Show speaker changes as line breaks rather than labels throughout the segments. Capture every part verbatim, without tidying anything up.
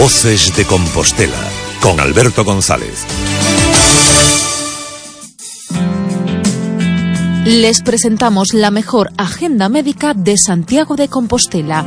Voces de Compostela, con Alberto González.
Les presentamos la mejor agenda médica de Santiago de Compostela.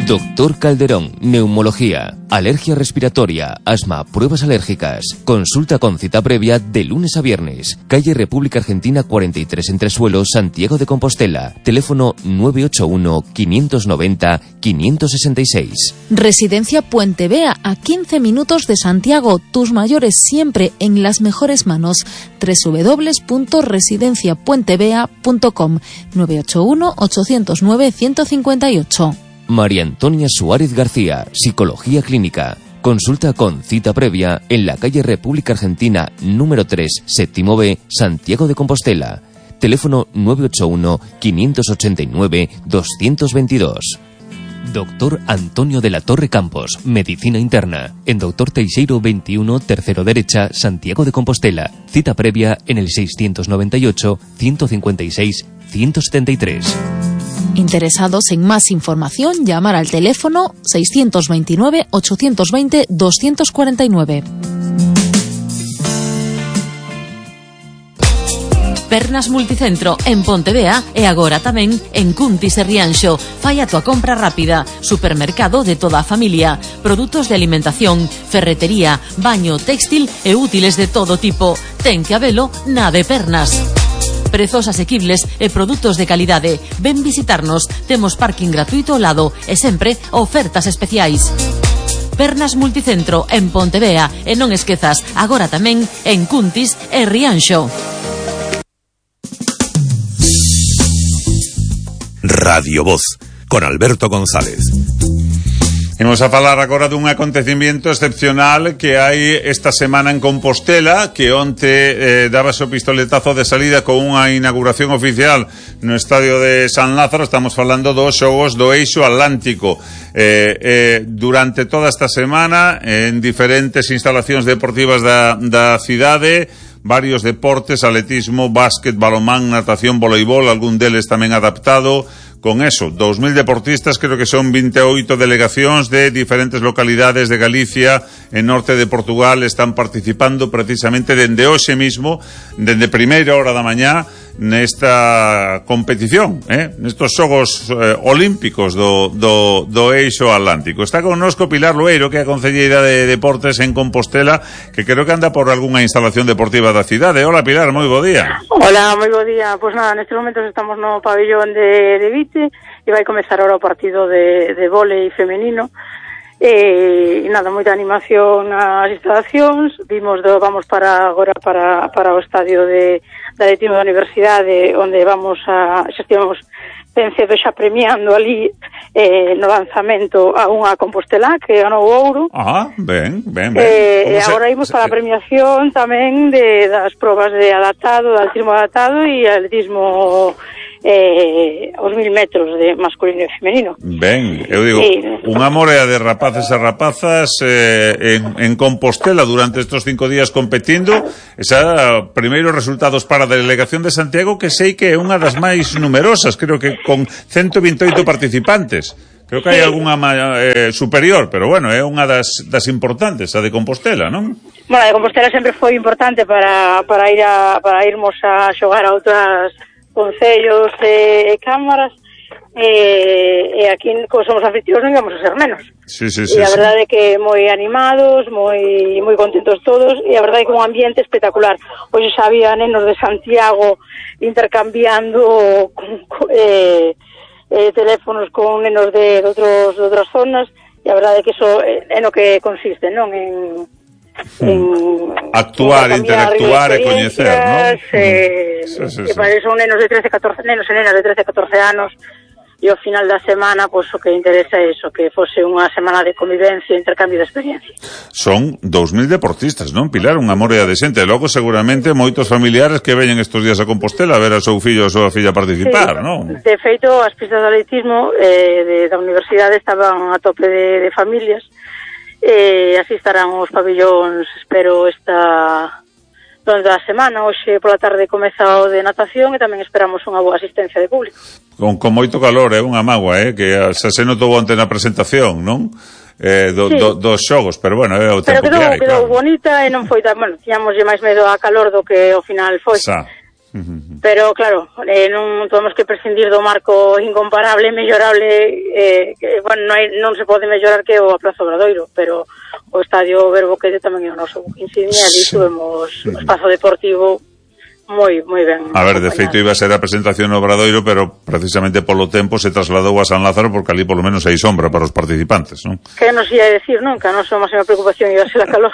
Doctor Calderón, neumología, alergia respiratoria, asma, pruebas alérgicas. Consulta con cita previa de lunes a viernes. Calle República Argentina cuarenta y tres, Entresuelo, Santiago de Compostela. Teléfono nueve ocho uno, quinientos noventa, quinientos sesenta y seis.
Residencia Puente Vea, a quince minutos de Santiago. Tus mayores siempre en las mejores manos. doble u doble u doble u punto residencia puente vea punto com. nueve ocho uno, ocho cero nueve, uno cinco ocho.
María Antonia Suárez García, Psicología Clínica. Consulta con cita previa en la calle República Argentina número tres, séptimo B, Santiago de Compostela. Teléfono nueve ocho uno, quinientos ochenta y nueve, doscientos veintidós. Doctor Antonio de la Torre Campos, Medicina Interna. En Doctor Teixeiro veintiuno, tercero derecha, Santiago de Compostela. Cita previa en el seiscientos noventa y ocho, ciento cincuenta y seis, ciento setenta y tres.
Interesados en más información, llamar al teléfono seiscientos veintinueve, ochocientos veinte, doscientos cuarenta y nueve. Pernas Multicentro en Pontevea e agora tamén en Cuntis e Rianxo. Fai a tua compra rápida. Supermercado de toda a familia. Produtos de alimentación, ferretería, baño, textil e útiles de todo tipo. Ten que habelo na de Pernas. Prezos asequibles e produtos de calidade. Ven visitarnos. Temos parking gratuito ao lado e sempre ofertas especiais. Pernas Multicentro en Pontevea e non esquezas, agora tamén en Cuntis e Rianxo.
Radio Voz, con Alberto González.
Imos a falar agora dun acontecimiento excepcional que hai esta semana en Compostela, que onte eh, dábase o pistoletazo de salida con unha inauguración oficial no estadio de San Lázaro. Estamos falando dos xogos do Eixo Atlántico. Eh, eh, durante toda esta semana, en diferentes instalacións deportivas da, da cidade, varios deportes, atletismo, básquet, balonmán, natación, voleibol, algún deles tamén adaptado. Con eso, dos mil deportistas, creo que son veintiocho delegacións de diferentes localidades de Galicia e norte de Portugal, están participando precisamente dende hoxe mismo, dende primeira hora da mañá, nesta competición, eh? nestos xogos eh, olímpicos do, do, do Eixo Atlántico. Está connosco Pilar Loeiro, que é a concelleira de Deportes en Compostela, que creo que anda por algunha instalación deportiva da cidade. Hola Pilar, moi bo día.
Hola, moi bo día. Pois nada, nestes momentos estamos no pabellón de, de Vite e vai comezar ahora o partido de, de vólei femenino. E, e nada, moita animación nas instalacións. Vimos do, vamos para agora para, para o estadio de, de atletismo da Universidade, onde vamos a, xa estivemos ben cedo xa premiando ali eh, no lanzamento a unha Compostela que ganou o ouro.
Ah, ben, ben, ben.
Eh, e agora imos para a premiación tamén de, das probas de adaptado, de atletismo adaptado e atletismo eh, aos mil metros de masculino e femenino.
Ben, eu digo, sí, unha morea de rapaces e rapazas eh, en, en Compostela durante estes cinco días competindo. Esa, primeiros resultados para a delegación de Santiago, que sei que é unha das máis numerosas, creo que con ciento veintiocho participantes. Creo que hai algunha eh, superior, pero bueno, é unha das, das importantes, a de Compostela, non?
Bueno, a de Compostela sempre foi importante para, para ir a, para irmos a xogar a outras concellos e, e cámaras, e, e aquí como somos afectivos non vamos a ser menos.
Sí, sí, sí,
e a
sí.
verdade é que moi animados, moi moi contentos todos, e a verdade é que un ambiente espectacular. Hoxe xa había nenos de Santiago intercambiando eh, eh, teléfonos con nenos de, de, outros, de outras zonas, e a verdade é que iso é no que consiste, non? En en
actuar, en interactuar e coñecer, non?
Eh, sí, sí, que sí. Son nenos de trece, catorce, nenos e nenas de trece, catorce anos, e ao final da semana, pois, o que interesa é iso, que fose unha semana de convivencia e intercambio de experiencia.
Son dous mil deportistas, non, Pilar? Unha morea de xente. Logo, seguramente, moitos familiares que veñen estes días a Compostela a ver a seu fillo ou a súa filla participar,
sí,
non?
De feito, as pistas de atletismo eh, de, da universidade estaban a tope de, de familias. E así estarán os pabellóns, espero, esta durante a semana. Hoxe pola tarde comeza o de natación e tamén esperamos unha boa asistencia de público.
Con, con moito calor, é eh, unha mágoa, eh, que xa se notou onte na presentación, non? eh, do, sí. do, dos xogos, pero bueno, é o tempo
pero quedou,
que hai,
quedou
claro.
bonita e non foi tan, bueno, tiñamos máis medo a calor do que ao final foi. Sa. Pero claro, eh, non temos que prescindir do marco incomparable, mellorable, eh, que, bueno, non, hai, non se pode mellorar que o Praza Obradoiro, pero o Estadio Verbo Quede tamén é o noso insignia, e ali tuvemos o espazo deportivo moi, moi ben.
A ver, de feito iba a ser a presentación no Obradoiro, pero precisamente polo tempo se trasladou a San Lázaro porque ali polo menos hai sombra para os participantes, non?
Que nos ia decir, non? Que a nosa máxima preocupación iba a ser a calor.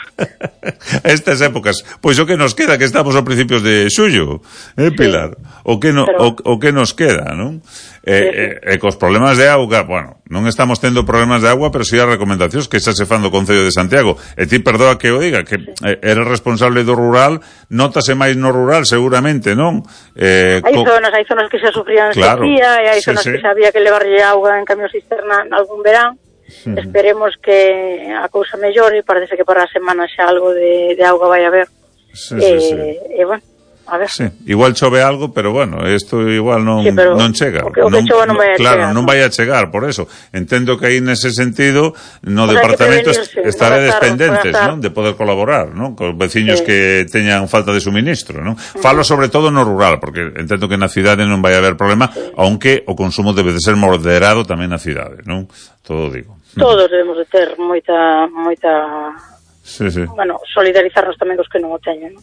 Estas épocas, pois o que nos queda, que estamos a principios de xullo, eh, Pilar? Sí. O que no, pero... o, o que nos queda, non? E eh, eh, eh, cos problemas de auga, bueno, non estamos tendo problemas de agua, pero si sí as recomendacións que xa se fan do Concello de Santiago. E ti perdoa que o diga, que eh, eres responsable do rural, notase máis no rural, seguramente, non?
Eh, hai co... zonas, hai zonas que xa sufrían claro, sequía, e hai sí, zonas sí. que xa había que levarlle auga en camión cisterna en algún verán. Uh-huh. Esperemos que a cousa mellore, parece que para a semana xa algo de, de auga vai haber. Sí, e, sí, sí. E, bueno, a ver.
Sí, igual chove algo, pero bueno, isto igual non,
sí,
non chega.
O que, o que non, chova non vai a
claro,
chegar,
non
¿no?
vai a chegar, por eso. Entendo que aí nese sentido no o sea, departamento estaredes pendentes, non? De poder colaborar, non? Cos veciños sí. que teñan falta de suministro, non? Uh-huh. Falo sobre todo no rural, porque entendo que na cidade non vai haber problema, sí. aunque o consumo debe de ser moderado tamén na cidade, non? Todo digo.
Todos debemos de ter moita moita
Sí, sí.
Bueno, solidarizarnos tamén cos que non o teñen, non?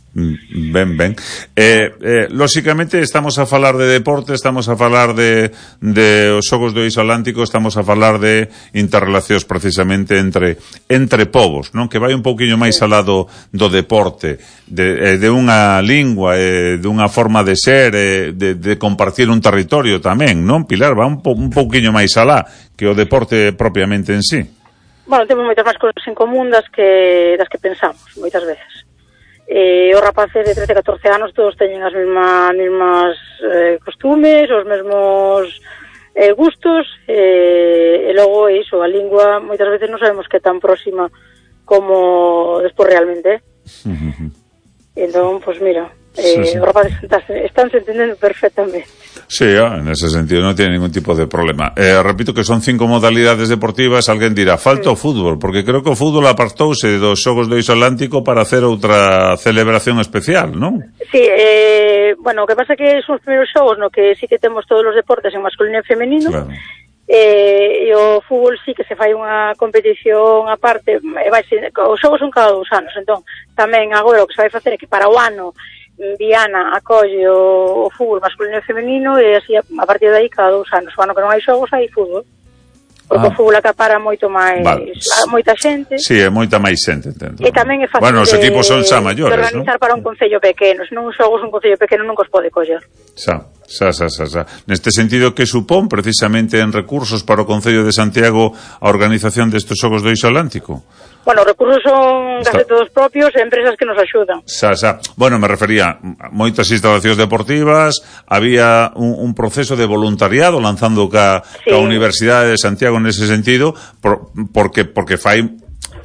Ben, ben. Eh, eh, lóxicamente estamos a falar de deporte, estamos a falar de, de os xogos do Eixo Atlántico, estamos a falar de interrelacións precisamente entre entre povos, non? Que vai un pouquiño máis sí. alá do, do deporte, de, de unha lingua, eh, de unha forma de ser, eh, de, de compartir un territorio tamén, non? Pilar, va un, po, un pouquiño máis alá que o deporte propiamente en sí.
Bueno, temos moitas máis cousas en común das que das que pensamos, moitas veces. Eh, os rapaces de trece a catorce anos todos teñen as mesmas, mesmas eh, costumes, os mesmos eh, gustos, eh, e logo iso, a lingua moitas veces non sabemos que é tan próxima como despois realmente. Uh-huh. Entón, pois pues mira, eh, sí, sí. os rapaces están se entendendo perfectamente.
Sí, en ese sentido non tiene ningún tipo de problema. Eh, repito que son cinco modalidades deportivas. Alguén dirá, falta o fútbol, porque creo que o fútbol apartouse dos xogos do Eixo Atlántico para hacer outra celebración especial, non?
Sí, eh, bueno, o que pasa que son os primeiros xogos no que sí que temos todos os deportes en masculino e femenino. Claro. Eh, e o fútbol sí que se fai unha competición aparte, e vai ser, os xogos son cada dous anos, entón tamén agora o que se vai facer é que para o ano Viana acolle o, o fútbol masculino e femenino, e así a, a partir de aí cada dous anos, o ano que non hai xogos hai fútbol, porque ah. o fútbol acapara moito máis vale. a moita xente.
Si, sí, é moita máis xente, entendo.
E tamén é fácil
bueno, os equipos son xa maiores,
de organizar,
¿no?
Para un concello pequeno, se non xogos un concello pequeno non os pode coller.
Xa, xa, xa, xa, xa. Neste sentido, que supón precisamente en recursos para o Concello de Santiago a organización destes xogos do Eixo Atlántico?
Bueno, os recursos son case todos propios e empresas que nos axudan.
Xa, xa. Bueno, me refería a moitas instalacións deportivas, había un, un proceso de voluntariado lanzando ca, sí. ca Universidade de Santiago nese sentido, por, porque porque fai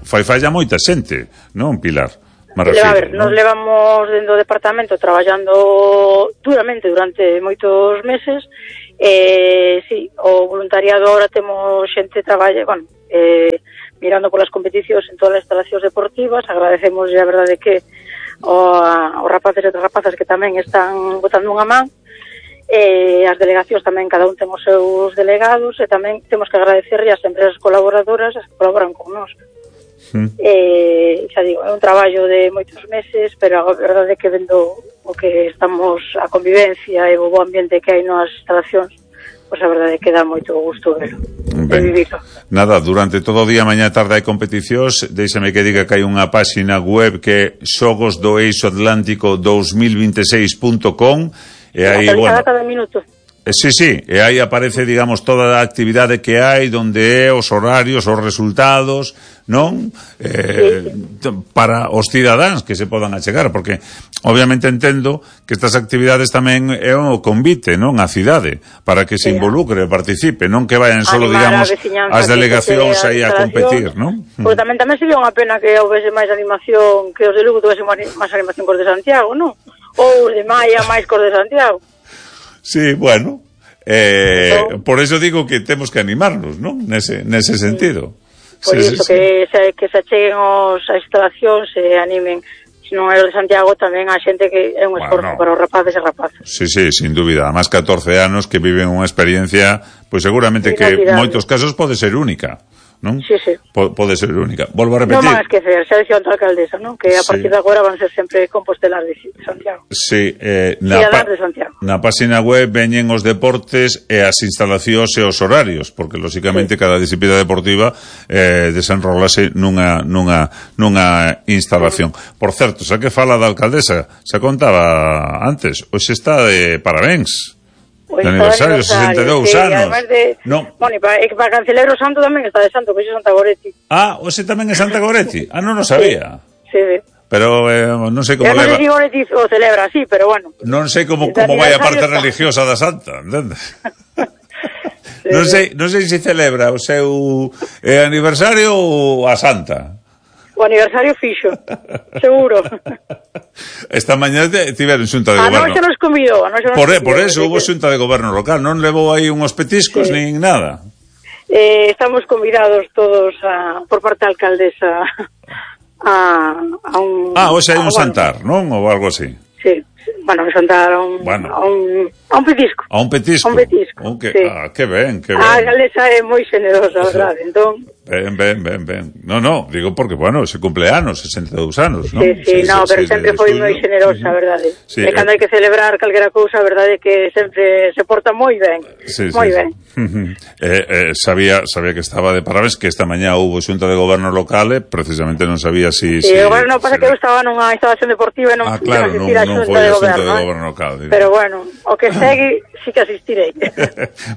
fai falla moita xente, non, Pilar? Me refiero,
a ver, ¿no? Nos levamos dentro do departamento traballando duramente durante moitos meses. Eh, sí, o voluntariado agora temos xente traballa, bueno, eh mirando polas competicións en todas as instalacións deportivas. Agradecemos a verdade que o, a, os rapaces e as rapazas que tamén están botando unha man, e as delegacións tamén, cada un ten os seus delegados, e tamén temos que agradecerle ás empresas colaboradoras as que colaboran con nós. Mm. E, xa digo, é un traballo de moitos meses, pero a verdade é que vendo o que estamos, a convivencia e o bo ambiente que hai nas instalacións, pois a verdade é que dá moito gusto verlo. Ben,
nada, durante todo o día, mañá e tarde hai competicións. Déixame que diga que hai unha páxina web que é xogos do eixo atlántico dos mil veintiséis punto com, e aí, bueno,
cada minuto.
Sí, sí, e aí aparece, digamos, toda a actividade que hai, donde é, os horarios, os resultados, non? Eh, sí, sí. Para os cidadáns que se podan achegar, porque obviamente entendo que estas actividades tamén é o convite, non? A cidade, para que se involucre e participe, non que vayan solo, digamos, as delegacións aí a competir, non?
Porque tamén tamén sería unha pena que houvese máis animación, que os de Lugo tuvesen máis animación cos de Santiago, non? Ou os de Maia máis cos de Santiago.
Sí, bueno, eh, por eso digo que temos que animarnos, non? Nese, nese sentido.
por
sí,
iso
sí,
que, sí. Se, que se acheguen os, as instalacións e animen. Se non é o de Santiago, tamén a xente que é un esforzo bueno, para os rapaces e rapazas.
Sí, sí, sin dúbida. A máis catorce anos que viven unha experiencia, pois seguramente que en moitos casos pode ser única, non?
Sí, sí.
P- pode ser única. Volvo a repetir.
Non van a esquecer, xa dixo a alcaldesa, non? Que a sí. partir de agora van ser sempre compostelas de Santiago.
Sí, eh, na, pa-
de Santiago.
na página web veñen os deportes e as instalacións e os horarios, porque lógicamente sí. cada disciplina deportiva eh, desenrolase nunha, nunha, nunha instalación. Sí. Por certo, xa que fala da alcaldesa, xa contaba antes, hoxe está de parabéns.
Pues
de aniversario, sesenta e dous
sí,
anos.
De,
no.
Bueno, e para, para Cancelero Santo tamén está de santo, que é Santa Goretti.
Ah, hoxe tamén é Santa Goretti? Ah, non o sabía.
Sí, sí.
Pero eh, non sei como
leva. Non sei
se
Goretti o celebra, sí, pero bueno.
Non sei como, como vai a parte está. religiosa da Santa, entendes? Sí, non sei, non sei se celebra o seu eh, aniversario ou a Santa.
O aniversario fixo, seguro.
Esta mañá tiveron xunta de
a
goberno.
A noxe nos convidou. A noxe nos
por,
convidou,
por eso hubo xunta de goberno local. Non levou aí uns petiscos sí. nin nada.
Eh, estamos convidados todos a, por parte da alcaldesa a, a un...
Ah, hoxe hai un
a,
santar,
bueno,
non? Ou algo así.
Sí. Bueno, me santar a un, bueno. a un a un petisco.
A un petisco.
A un petisco.
Oh, que,
sí.
Ah, que ben, que ben.
A alcaldesa é moi xenerosa, verdade. Entón,
ben, ben, ben, ben. No, no, digo porque, bueno, se cumple anos, sesenta e dous anos, non?
Sí, sí, no, pero sempre foi moi xenerosa, verdade.
Sí,
e cando
eh...
hai que celebrar calquera cousa, verdade que sempre se porta moi ben.
Sí,
moi
sí,
ben.
Sí. eh, eh, sabía, sabía que estaba de parabéns, que esta mañá hubo xunta de goberno local, eh, precisamente non sabía si...
Sí,
si
o goberno pasa si... que eu estaba nunha instalación deportiva e non
ah, claro, non, non foi a xunta de goberno local.
Digo. Pero bueno, o que segue sí que asistirei.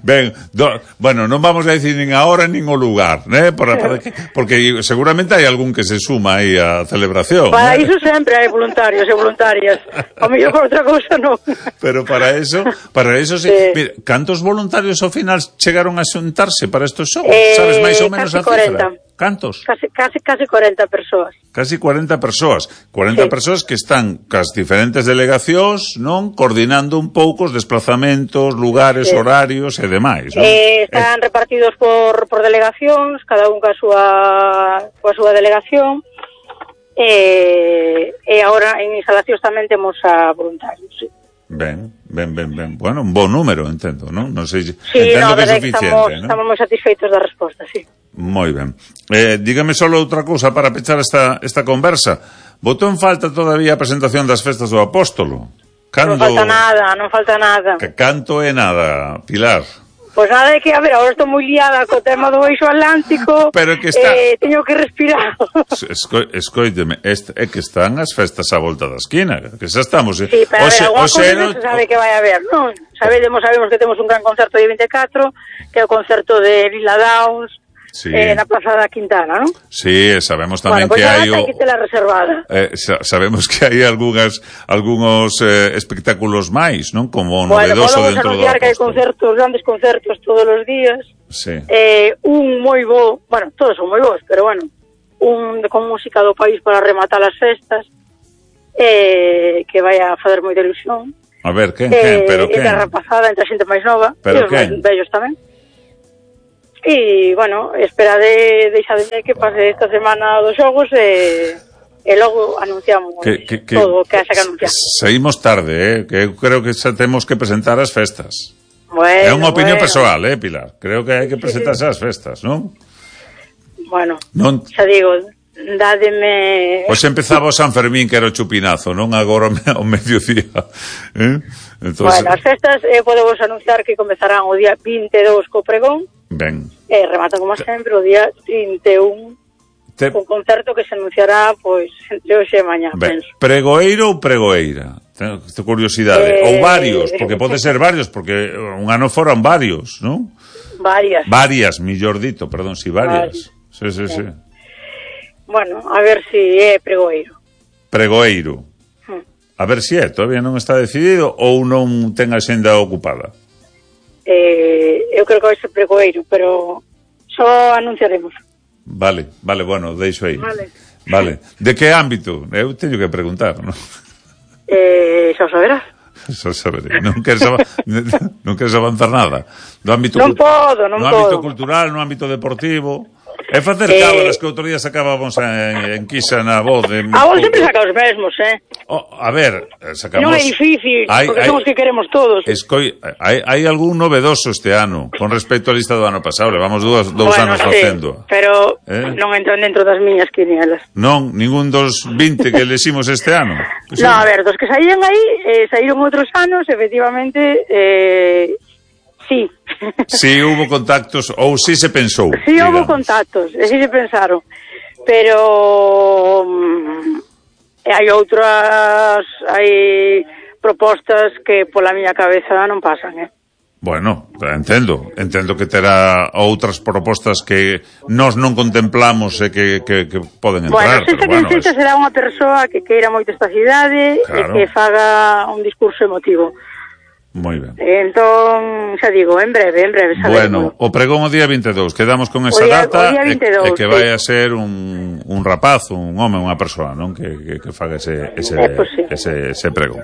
Ben, do, bueno, non vamos a decir nin a hora nin o lugar, né? Para, para que, porque seguramente hai algún que se suma aí á celebración.
Para
¿eh?
iso sempre hai voluntarios e voluntarias. A mellor por outra cousa non.
Pero para eso, para eso sí. sí. Mira, cantos voluntarios ao final chegaron a xuntarse para estos xogos?
Eh,
Sabes máis ou menos a cifra? Cantos?
Casi, casi, casi cuarenta persoas.
Casi cuarenta persoas. cuarenta sí. persoas que están cas diferentes delegacións, non? Coordinando un pouco os desplazamentos, lugares, sí. horarios e demais, non?
Eh, están eh... repartidos por, por delegacións, cada un ca súa, coa súa delegación. E, e agora en instalacións tamén temos a voluntarios, sí.
Ben, ben, ben, ben. Bueno, un bon número, entendo, non? Non sei,
sí,
entendo
no,
que é suficiente,
estamos,
non?
Estamos moi satisfeitos da resposta, sí.
Moi ben. Eh, dígame só outra cousa para pechar esta, esta conversa. Botou en falta todavía a presentación das festas do Apóstolo?
Cando... Non falta nada, non falta nada.
Que canto é nada, Pilar?
Pois pues nada, é que, a ver, agora estou moi liada co tema do eixo atlántico.
Pero que está...
Eh, teño que respirar.
Esco, escoíteme, este, é que están as festas á volta da esquina, que xa estamos... Eh?
Sí, pero
Oxe,
a ver, alguna
oxe,
cousa non se sabe que vai haber, non? Sabemos, sabemos que temos un gran concerto de vinte e catro, que é o concerto de Lila Downs, sí. eh, na Plaza da Quintana, non?
Sí, sabemos tamén
bueno, pues
que hai
o... que te la reservada.
Eh, sa sabemos que hai algunhas algúns eh, espectáculos máis, non? Como
bueno,
novedoso dentro do
anunciar que hai concertos, grandes concertos todos os días.
Sí.
Eh, un moi bo, bueno, todos son moi bons, pero bueno, un con música do país para rematar as festas, eh, que vai a fazer moita ilusión.
A ver, quen,
eh,
quen, pero quen?
Entre a rapazada, entre a xente máis nova,
pero
e os máis vellos tamén. E, bueno, espera de deixademe que pase esta semana dos xogos e, e logo anunciamos que, que, que, todo o que haxa que anunciar.
Saímos tarde, eh? Que eu creo que xa temos que presentar as festas.
Bueno,
é unha opinión
bueno.
persoal, eh, Pilar? Creo que hai que presentarse sí, sí. as festas, non?
Bueno,
non...
xa digo, dádeme...
Pois empezaba o San Fermín, que era o chupinazo, non agora o mediodía. Eh?
Entonces... Bueno, as festas eh, podemos anunciar que comezarán o día vinte e dous co pregón.
Ben.
E remata, como sempre, o día trinta e un Te... un concerto que se anunciará, pois, entre hoxe e mañá,
ben.
penso.
Pregoeiro ou pregoeira? Tengo curiosidade. Eh... Ou varios, porque pode ser varios, porque un ano foran varios, non?
Varias.
Varias, millor dito, perdón, si, varias. varias. Sí, sí, sí.
Bueno, a ver si é pregoeiro.
Pregoeiro. Hmm. A ver si é, todavía non está decidido ou non ten a xenda ocupada.
Eh, eu creo que vai ser pregoeiro, pero só anunciaremos.
Vale, vale, bueno, deixo aí.
Vale.
Vale. De que ámbito? Eu teño que preguntar, non?
Eh, xa saberás.
Xa saberé. Non queres, av non queres avanzar nada. Do ámbito
non podo, non
no
podo.
ámbito cultural, no ámbito deportivo. É facer
Eh,
cábalas que outro día sacábamos en, en Quisa na voz. De,
A vos sempre saca os mesmos, eh?
Oh, a ver, sacamos...
Non é difícil,
hai,
porque
hai,
son os que queremos todos.
Escoi, hai, hai algún novedoso este ano con respecto á lista do ano pasado. Levamos dous, dous
bueno,
anos
sí,
facendo.
pero
eh?
non entran dentro das miñas quinielas.
Non, ningún dos vinte que eleximos este ano. Pues
No, a ver, dos que saían aí, eh, saíron outros anos, efectivamente, eh, sí.
Si hubo contactos, ou si se pensou.
Sí,
digamos.
houve contactos, e si se pensaron. Pero mm, hai outras, hai propostas que pola miña cabeza non pasan, eh?
Bueno, entendo, entendo que terá outras propostas que nós non contemplamos e que, que, que poden entrar.
Bueno, se
pero
que
bueno,
feita
es...
será unha persoa que queira moito esta cidade
Claro.
e que faga un discurso emotivo.
Moi ben.
Entón, xa digo, en breve, en breve
Bueno,
saberemos.
o pregón o día vinte e dous, quedamos con esa
O día-
data
o día
e,
vinte e dous,
e que
sí.
vai a ser un, un rapaz, un home, unha persoa, non? Que, que, que faga ese, ese,
Eh, pues sí.
ese, ese pregón.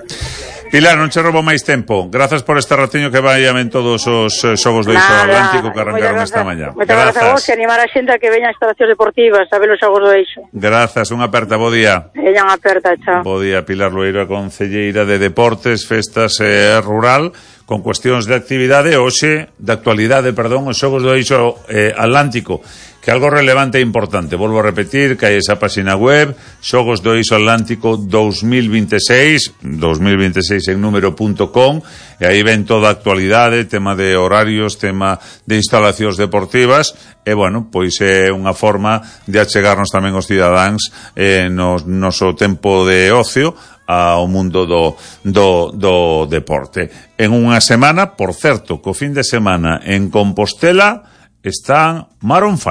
Pilar, non che roubo máis tempo. Grazas por este ratiño que vai en todos os eh, xogos do Iso Atlántico que arrancaron esta mañá.
Moitas grazas a vos e animar a xente a que veña a instalacións deportivas a ver os xogos do Eixo.
Grazas, unha aperta, bo día.
Ella unha aperta, chao.
Bo día, Pilar Loeiro, a concelleira de Deportes, Festas e eh, Rural, con cuestións de actividade, hoxe, de actualidade, perdón, os xogos do Eixo eh, Atlántico, que algo relevante e importante. Volvo a repetir que hai esa página web, Xogos do Eixo Atlántico dos mil veintiséis, dos mil veintiséis en número punto com, e aí ven toda a actualidade, tema de horarios, tema de instalacións deportivas, e, bueno, pois é unha forma de achegarnos tamén os cidadáns eh, no noso tempo de ocio ao mundo do, do, do deporte. En unha semana, por certo, co fin de semana en Compostela están Maroon five.